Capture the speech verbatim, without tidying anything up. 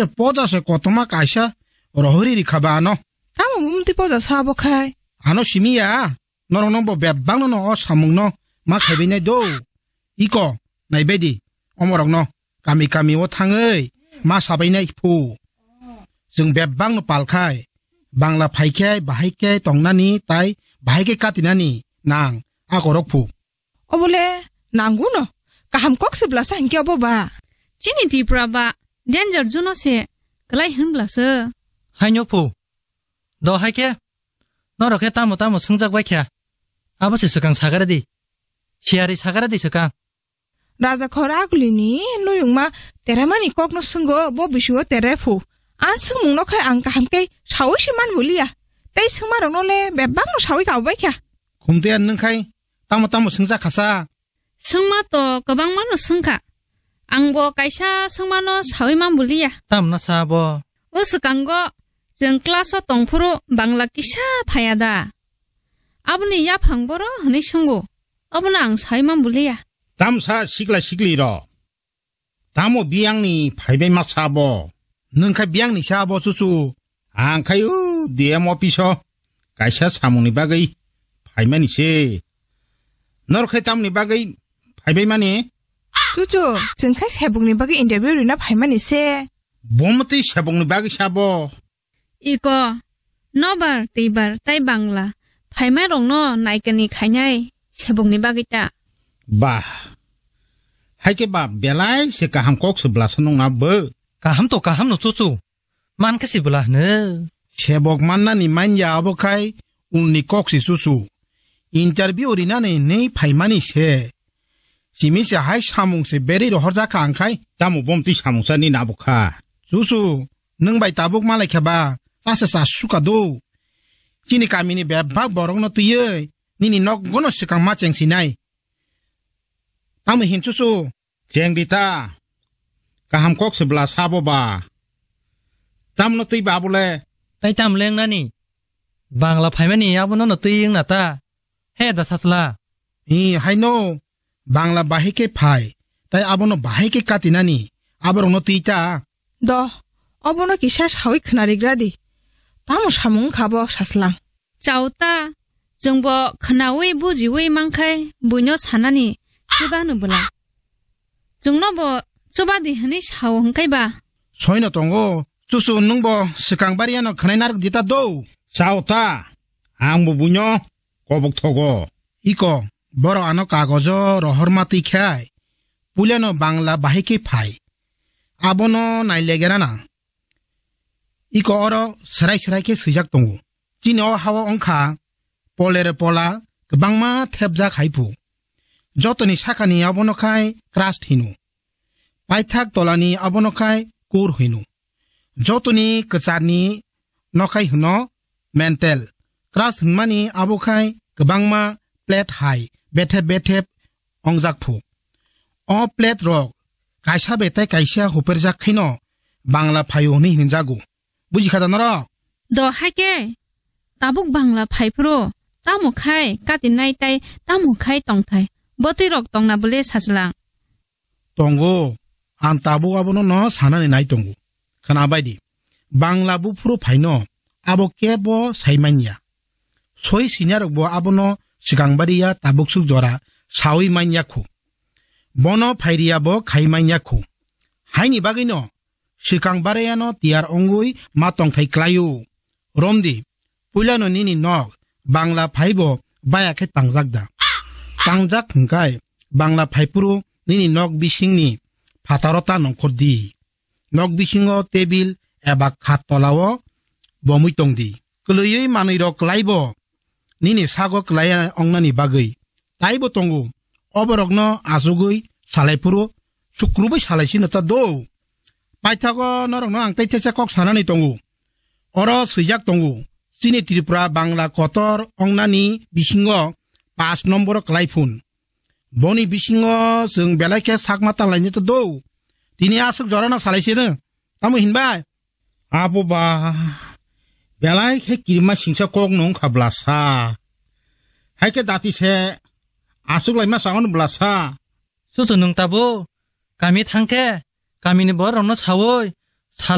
Poja se kotorma kaisa rohori rikha ba ano. Tamo bumti poja sa bo khai? Ano simi ya, norok no bo bebak no no o samung no ma khaibai nai do. Iko, naibai di, omorok no kami kami o thangwi ma sabai nai phu. Chwng bebak no pal khai, Bangla phai khe bahai khe tongnani tai bahai khe katinani nang akorok phu. Obole nangu no, kaham kok se bwlasa hinkhe obo ba. Chini Tripura ba danger zone o se kwlai hwn bwlasa. Haino phu. Do hai khe, norok khe tamo tamo swngjak bai kha. Abo se swkang sagare di. Siyari sagare di swkang. Raja khor agulini nuyungma teremani kokno swngo bo bisio tere phu. A swngmungno khai ang kaham khe saui se man buliya. Tei swngmarokno le bebakno saui kabo bai kha. Khumte nwng khai tamo tamo swngjak khasa. Swngma to kwbangma no swngkha. Ang bo kaisa swngmano saui man buliya. Tamna sa bo? O swkango chwng class o tongphuru Bangla kisa phaiya da? Aboni yaphang boro hwnwi swngo. Abono ang saui man buliya. Tamsa sikla sikli ro. Tamo biyangni phaibai ma sa bo? Nwng kha biyangni sa bo chuchu. Ang khai u D M office o kaisa samungni bagwi phaimani se. Norok khai tamni bagwi phaibai mani? Chuchu, chwng khai sebokni bagwi interview rina phaimani se. Bomtwi sebokni bagwi sa bo? Iko, nobar, twibar, tai Bangla phaimarokno naikani khainai sebokni bagwi ta. Bah, hai khe ba belai se kaham kok se bwlasa nung na bo? Kaham to kaham no chuchu. Man khe si bwla hwno. Sebok mannani manya abo khai unni kok si chuchu. Interview rinani nei phaimani se. Simi se hai samung se berwi rohorjak kha ang khai. Tamo bomtwi samung sa ni nabo kha. Chuchu, nwng bai tabuk malai khe ba, chasa cha suka do. Chini kamini bebak borokno twiwi nini nokgono swkang ma cheng sinai. Tamo hin chuchu? Cheng di ta. Kaham kok se bwla sabo ba. Tamno twi ba bole? Tai tam lengnani? Bangla phaimani abono no twi wngna ta. He da sachla. I, haino. Bangla bahai khe phai. Tai abono bahai khe katinani. Aborokno twi ta. Do, obono kisa saui khwnarigra di. Tamo samung wngkha bo sachlang. Chao ta, chwngbo khwnaui bujiui mankhai buino sanani chuda hwno bwla. Chwngnobo chuba di hwnwi sao hwnkhe ba? Soino tongo, chuchu nwngbo swkang bariano khwnai narwk di ta do. Chao ta, angbo buino kobok thogo. Iko, borok ano kagojo rohorma twi khai, puilano Bangla bahai khe phai. Abono nailegerana. Iko oro swrai swrai khe swijak tongo. Chini o hao wngkha polere pola kwbangma thepjak hai phu. Jotoni sakani abono khai crust hino. Paithak tolani abono khai kur hino. Jotoni kwcharni nokhai hwno mantle. Crust hwnmani abo khai kwbangma plate hai bethep bethep ongjak phu. O plate rok kaisa bai tai kaisa huperjak khaino Bangla phaio hwnwi hinjago. Buji kha da norok? Do hai khe, tabuk Bangla phai phuru tamo khai katinai tai tamo khai tongthai bwtwi rok tongna bwle sachlang. Tongo, ang tabuk abono no sanani nai tongo. Khwna bai di, Bangla buphuru phaino abo kebo sai manya. Soi sinarokbo abono swkang bariya tabuk suk jora saui manya khu. Bono phairiya bo khai manya khu. Haini bagwino swkang barayano tiyar ongwi ma tongthai klaio. Romdi, puilano nini nok Bangla phaibo baya khe tangjak da? Tangjak hwnkhe Bangla phaiphuru nini nok bisingni phataro ta nongkhor di. Nok bisingo tebil eba khat tolao bomwi tong di. Kwlwiwi manwirok kwlaibo nini sago kwlai ongnani bagwi taibo tongo. Oborokno achugwi salai phuru sukrubwi salai sino ta do. Paithago norokno ang tei thecha kok sanani tongo. Oro swijak tongo, chini Tripura Bangla kotor ongnani bisingo pash nomboro kwlai phun. Boni bisingo chwng belai khe sakma tanlaini ta do. Tini aswk jorano salai sino. Tamo hinbai? Abo ba, belai khe kirima singsa kok nung kha bwlasa. Hai khe dati se aswk laima sagon bwlasa. Chuchu nwng tabuk kami thang khe kamini borok rokno saui sal